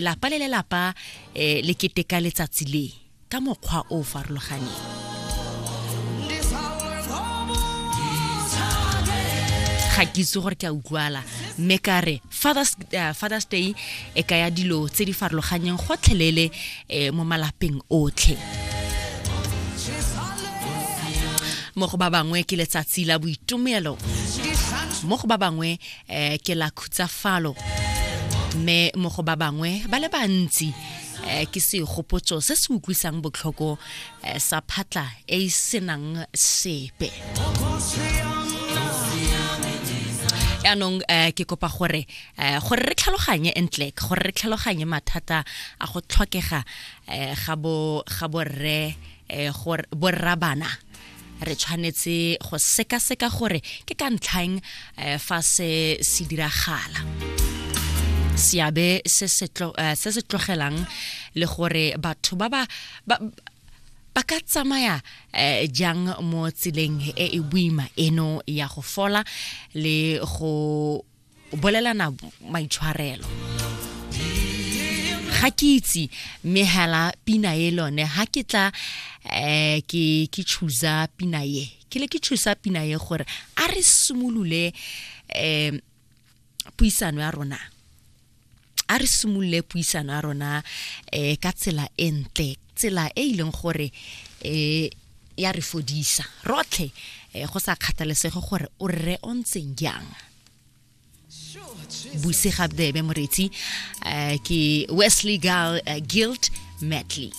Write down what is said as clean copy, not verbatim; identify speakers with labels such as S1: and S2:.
S1: Lapa le lelapa eh, le keteka letsatsi le ka mokgwa o o farologaneng. Ga ke itse gore ke a utlwala, mme ka re Father's Day e kaya dilo tse di farologaneng gotlhelele mo malapeng otlhe. Mo go ba bangwe ke letsatsi la boitumelo, mo go ba bangwe ke la khutsafalo, mme mo go ba bangwe ba le bantsi ke segopotso se se utlwisang botlhoko sa phatla e e senang sepe. Yaanong ke kopa gore gore re tlhaloganye entle, gore re tlhaloganye mathata a go tlhokega ga bo ga borre gore borrabana, re tshwanetse go sekaseka gore ke ka ntlhang fa se se diragala, seabe se se se se tlogelang, le gore batho ba ba ba ka tsamaya jang mo tseleng e e boima eno ya go fola le go bolelana maitshwarelo. Ga ke itse, mme hela pina e lone ha ke tla ke choosa pina e, ke le ke choosa pina e gore a re simolole puisano ya rona, a re simolole puisano ya rona ka tsela e ntle, tsela e e leng gore ya re fodisa rotlhe, go sa kgathalesege gore o rre o ntseng jang. Buse Gabdebe moretsi, ke Wesley Girl Guild Medley.